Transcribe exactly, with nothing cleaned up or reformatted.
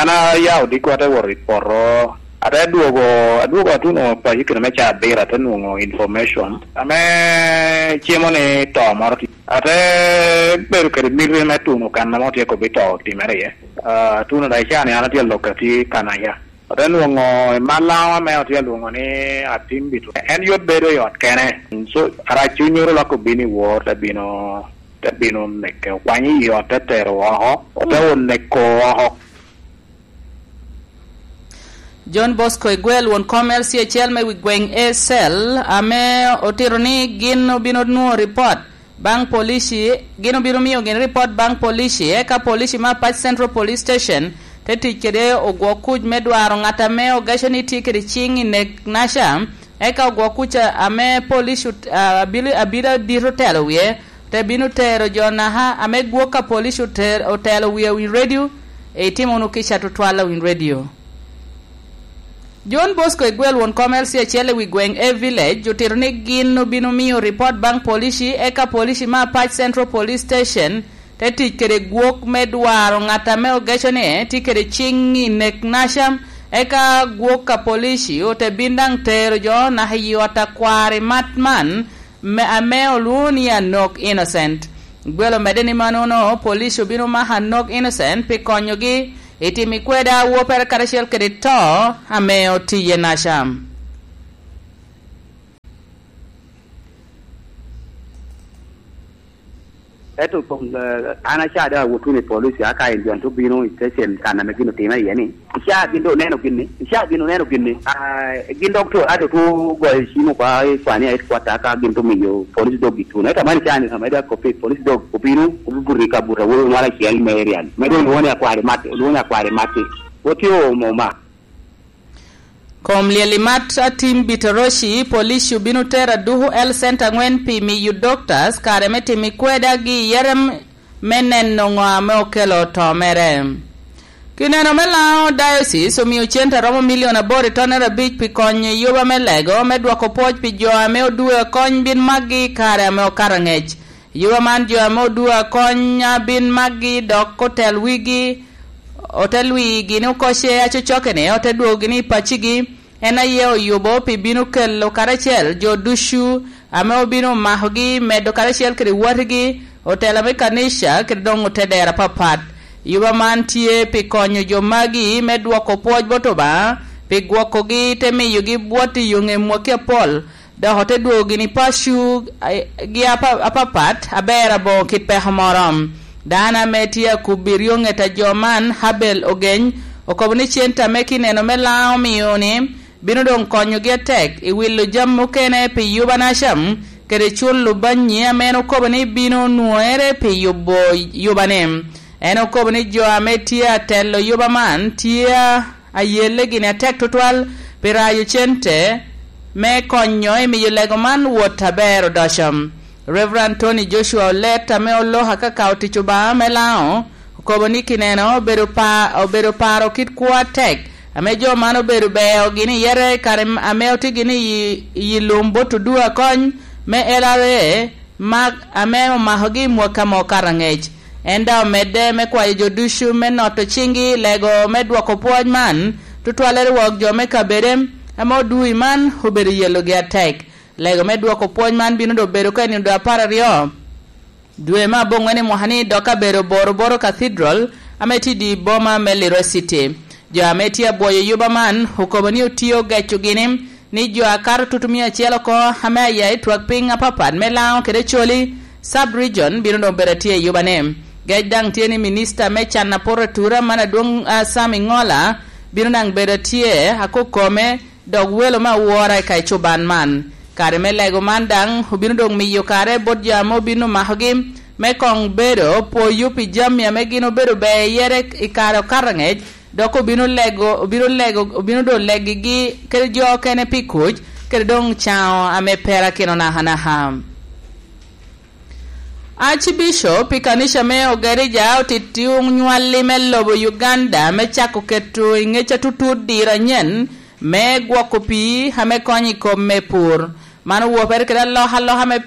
An aya odiko, ate wot i poto, ate dwogo, adwogo atuno paco kine me caa abiro, ate nwoŋo information ame cimo ni to moro tye. Ate bedo kede miti me tuno kan ame otye kobbi to otimere iye. Ah, atuno daŋ i caa ni an atye alok atye Kanaya. Ate nwoŋo i Malawa ame otye alwoŋo ni Atim Bito. En yot bedo i ot kene. So, arac cuny oro lak obino i wor, te bino, te bino neke, okwanyo i ot, te tero oko, ote oneko oko. John Bosco Igwel, won kom L C acel me wi gweŋ A C E L, ame otito ni gin obino nwoŋo ripot baŋ polici, gin obino miyo gin ripot baŋ polici, eka polici me Apac Central Police Station te tic kede ogwok kuc me dwaro ŋat ame ogeco ni tye kede ciŋ i nek naca, eka ogwok kuc ame polici ot-, a-, abili-, abili adit otelo wie, te bino tero jo naka ame gwok ka polici oter-, otelo wie i radio, itimo wunu kica tutwal i radio. John Bosco Igwel, won kom L C acel i wi gweŋ A Village, otito ni gin obino miyo ripot baŋ polici, eka polici me Apac Central Police Station te tic kede gwok me dwaro ŋat ame ogeco ni tye kede ciŋ i nek naca, eka gwok ka polici ote bin daŋ tero jo naka i ot a kwari mat man, me, ame olwoŋo ni Anok Innocent. Gwel omedde ni mannono, police obino mako Anok Innocent pi konyogi i timo kweda awoppere karacel kede to ame otiye naca. Ento kom, eh, an aca doŋ awot wunu i police, aka en John to bino i station kan ame gin otimere iye ni. Ica gin doŋ oneno gin ni, ica gin oneno gin ni. Ah, gin dok to, ato to goyo cim oko i Kwania headquarter, ka gin to miyo police dog gituno. Ento man ica ni, ame dok kopi, police dog obino, obuto i kabuto awobi mwal acel me area ni. Me doŋ lwongo ni akwari Mati, lwongo ni akwari Mati. Wot yo mo ma. Kom lyel i mat Atim Bitoroci, police obino tero aduku L Center aŋwen pi miyo doctors kare me timo kweda gi i yere m-, me neno ŋo ame okelo to mere. Kineno me Lango Diocese omio cente a romo milion aboro i tonnere abic pi konyo i yuba me lego me dwoko pwoc pi jo ame odue akony bin makgi i kare ame okato angec. Yuba man jo ame odue akony a bin makgi dok otel wigi, otel wigi ni okocce acocoke-ni, ote dwogogi ni i paccigi. En aye oyubo pi bino kelo karacel jo ducu ame obino makogi, medo karacel kede watigi, otela me kanica, kede doŋ otedera apapat. Yuba man tye pi konyo jo magi me dwoko pwoc bot Obaŋa, pi gwokogi, te miyogi bwot i yoŋe mwaki apol, dok ote dwogo gini paco, a-, gi apa-, apapat, aber aboŋo kit peko moro. Dano ame tye akubbi ryoŋet a jo man, Habel Ogeny, okobo ni cente ame kineno me Lango omio-ni bino doŋ konyogi atek i wilo jami mukene pi yuba naca, kede culo banyi ame en okobo ni bino nwoŋere pi yubo yubane. En okobo ni jo ame tye atelo yuba man tye a ayelle gini atek tutwal pi rayo cente me konyo i miyo lego man wot aber odoco. Reverend Tony Joshua Olet, ame oloko akaka otic Obaŋa me Lango, okobo ni kineno obedo pa-, obedo paro kit kwo atek ame jo man obedo beo gini yere i kare ame otye gini i, i lum bot odua kony me L R A, mak ame omakogi i mwaka mo okato angec. En daŋ omedde me kwayo jo ducu me noto ciŋgi i lego me dwoko pwoc man, tutwalle rwok jo me kabede ame odui man obedo yelogi atek. Lego me dwoko pwoc man bino doŋ bedo ka i nino doŋ apar aryo dwe me aboŋwen i mwaka ni, dok abedo Boro Boro Cathedral ame tye i di boma me Lira City. Jo ame tye abwoyo yuba man okobo ni otye ogeco gini ni jo akato tutumia acel oko ame aya i twak piny apapat me Lango kede Acholi sub-region bino doŋ bedo atye i yubane. Gec daŋ tye ni minista me can aporo atura man adwoŋ, ah, Sam Ingola bino daŋ bedo atye akokome, dok welo me awora i kacuban man. Kare me lego man daŋ obino doŋ miyo kare bot jo ame obino makogi me koŋ bedo poyo pi jami ame gin obedo ber yere i kare okato angec, dok obino lego, obino lego, obino doŋ legigi kede jo okene pi kuc, kede doŋ caŋo ame perakino nakanaka. Archbishop i kanica me Ogerija otito onywalli me lobo Uganda me cako keto i ŋec atutut diro anyen me gwoko pii ame konyo i kom me pur. Man owopere kede alokaloka me